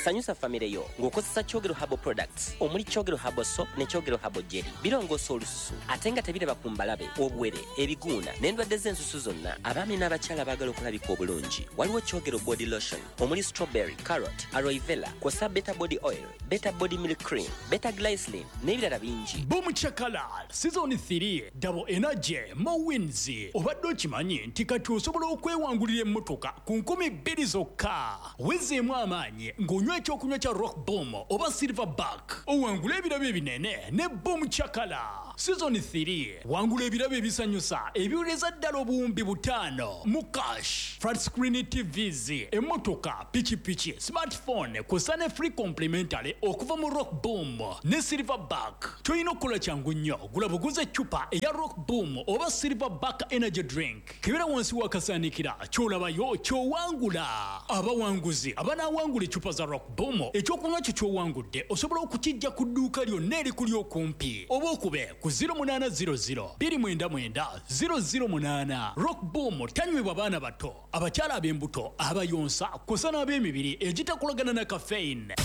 Sanyusa famire yo ng'okozesa Kyogero Herbal Products omuli Kyogero Herbal Soap ne Kyogero Herbal Jelly. Birongoosa olususu ate nga tebiraba ku mbalabe, obuwere, ebiguuna n'endwadde z'ensusu zonna. Abaami n'abakyala abaagala okulabika obulungi, waliwo Kyogero Body Lotion omuli strawberry, carrot, aloe vera, kw'ossa Better Body Oil, Better Body Milk Cream, Better Glycerin n'ebirala bingi. Boom Chakala Season 3, Double Energy, More Wins. Obadde okimanyi nti kati osobola okwewangulira emmotoka ku 2000 zokka? Wezzeemu amaanyi ng'onywa ekyokunywa kya Rock Boom oba Silver Back, owangule ebirabo ebinene ne Boom Chakala Season 3. Wangula ebirabo ebisanyusa ebiwereza ddala 5000 mu cash, flat screen TVs, emmotoka, pikipiki, smartphone, kw'ossa ne free complimentary okuva mu Rock Boom ne Silver Back. Ky'olina okukola kyangu nnyo, gula buguzi eccupa eya Rock Boom oba Silver Back Energy Drink. Kebera wansi w'akasaanikira, ky'olabayo ky'owangula. Abawanguzi abanaawangula eccupa za Rock Boom, ekyokunywa kyo ky'owangudde osobola okukiggya ku dduuka lyonna erikuli okumpi oba okube ku 0800 299 008. Rock Boom tanywebwa baana bato, abakyala ab'embuto, abayonsa kw'ossa n'ab'emibiri egitakolagana na caffeine.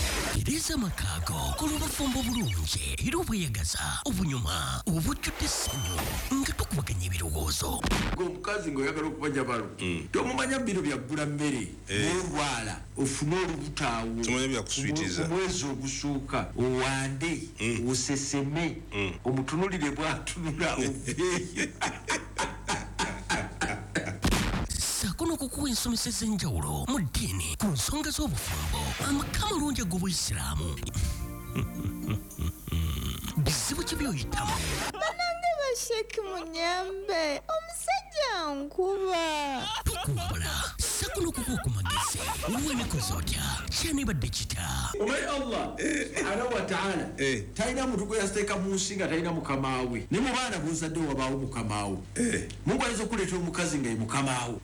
Tereeza amaka go, kola obufumbo obulungi era obweyagaza, obunyuma, obujjudde essanyu nga tukubaganya ebirowoozo. Gwe omukazi ng'oyagala okumanya balo, tomumanya bino bya ggula mmere, n'olwala ofune olubuto awo Tomanya bya kuswitiza. ku mwezi ogusooka, owande, oseseme, omutunulire bw'atunula, oveeyo. Ssaako n'okukuwa ensomesa ez'enjawulo mu ddiini ku nsonga z'obufumbo, amaka amalungi ag'Obuyisiraamu. Bizibu ki by'oyitamu? Banange basheki, munyambe, omusajja nkuba. Tukuwabula ssaako n'okukuwa ku magezi. Weekoze otya? Kyanibadde kita? Omanyi Allah subhanahu wataala talina muntu gwe yateeka mu nsi nga talina mukamaawe. Ne mu baana bozadde wabaawo mukamaawo. Mungu ayinza okuleetera omukazi nga ye mukamaawo,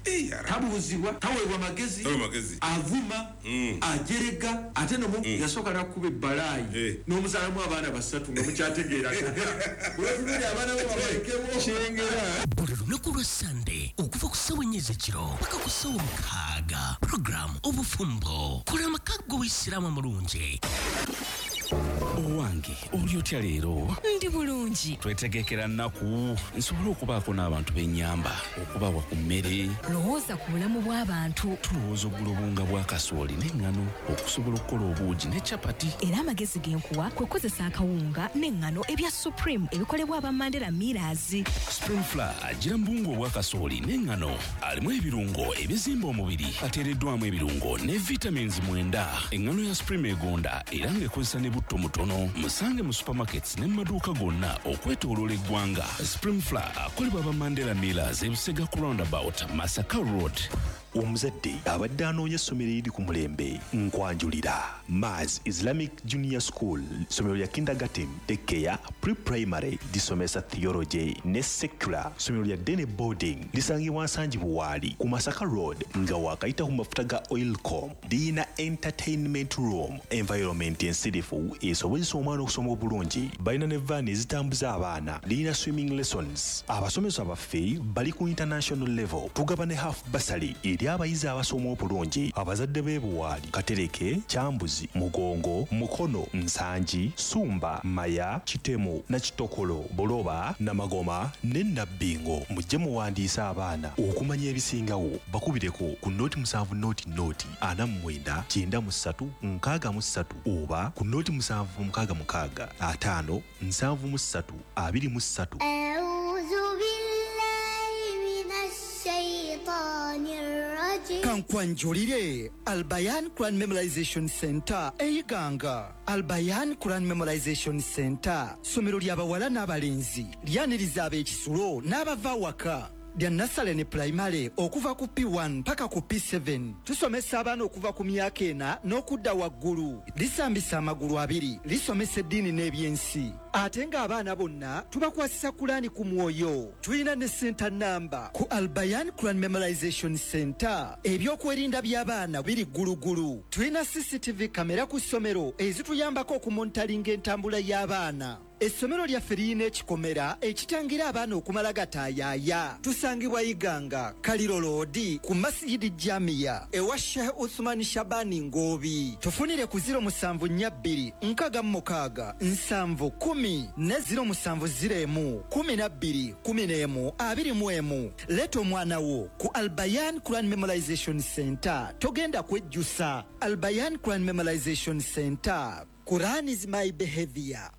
tabuuzibwa, taweebwa magezi, Taweebwa magezi. Avuma, ajerega, ate nomu yasooka nakuba ebbalaayi n'omuzaalamu abaana basatu nga mukyategeeragana. Wetunuli abaana bo babalekemu. Kyengera. Buli lunaku lwa Sande okuva ku ssaawa 4 ez'ekiro paka ku ssaawa 6, puroguramu Obufumbo, kola amaka g'Obuyisiraamu amalungi. Owange, oli otya leero? Ndi bulungi. Twetegekera nnaku nsobole okubaako n'abantu b'ennyamba, okubawa ku mmere. Lowooza ku bulamu bw'abantu. Tulowooza okugula obuwunga bwa kasooli n'eŋŋano okusobola okukola obuugi ne capati. Era amagezi ge nkuwa kwe kukozesa akawunga n'eŋŋano ebya Supreme ebikolebwa aba Mandela Millers. Supreme Flour agira mu buwunga obwa kasooli n'eŋŋano, alimu ebirungo ebizimba omubiri, ateereddwamu ebirungo ne vitamins 9. Eŋŋano ya Supreme egonda era ng'ekozesa ne butto mutono. Musange mu supermarkets ne mu maduuka gonna okwetooloola eggwanga. Supreme Flour akolebwa aba Mandela Millers, Ebusega ku roundabout, Masaka Road. Omuzadde abadde anoonya essomero eriri ku mulembe, nkwanjulira Mars Islamic Junior School, ssomero lya kindergarten, daycare, pre-primary, lisomesa theology ne secular, ssomero lya day ne boarding. Lisangibwa Nsangi Buwaali ku Masaka Road nga wakayita ku mafuta ga Oilcom. Liyina entertainment room, environment ensirifu esobozesa omwana okusoma obulungi. Balina ne vaani ezitambuza abaana. Liyina swimming lessons. Abasomesa baffe bali ku international level. Tugaba ne half bursary eri abayizi abasoma obulungi. Abazadde b'e Buwaali, Katereke, Kyambuzi, Mugongo, Mukono, Nsangi, Sumba, Maya, Kitemu, Nakitokolo, Buloba, Namagoma ne Nabbingo, mujje muwandiise abaana. Okumanya ebisingawo bakubireko ku 070 049 93 63 oba ku 0766 573 23. أعوذ بالله من الشيطان الرجيم. Kankwanjulire Albayan Quran Memorization Center eyiganga. Albayan Quran Memorization Center ssomero ly'abawala n'abalenzi, lyaniriza ab'ekisulo n'abava waka, lya nursery ne primary okuva ku P1 paka ku P7. Tusomesa abaana okuva ku myaka 4 n'okudda waggulu. Lisambisa amagulu abiri, lisomesa eddiini n'ebyensi, ate ng'abaana bonna tubakwasisa Kulaani ku mwoyo. Tulina ne center namba ku Albayan Quran Memorization Center. Ebyokwerinda by'abaana biri ggulugulu. Tulina CCTV kamera ku ssomero ezituyambako okumonitoringa entambula y'abaana. Essomero lyaffe lirina ekikomera ekitangira abaana okumala gataayaaya. Tusangibwa Iganga, Kaliro Road, ku Masijidi Jamiya ewa Sheikh Uthman Shabani Ngobi. Tufunire ku 0742 66 7 10 ne 0701 12 11 21. Leeta omwana wo ku Albayan Quran Memorization Center. Togenda kwejjusa. Albayan Quran Memorization Center. Quran is my behavior.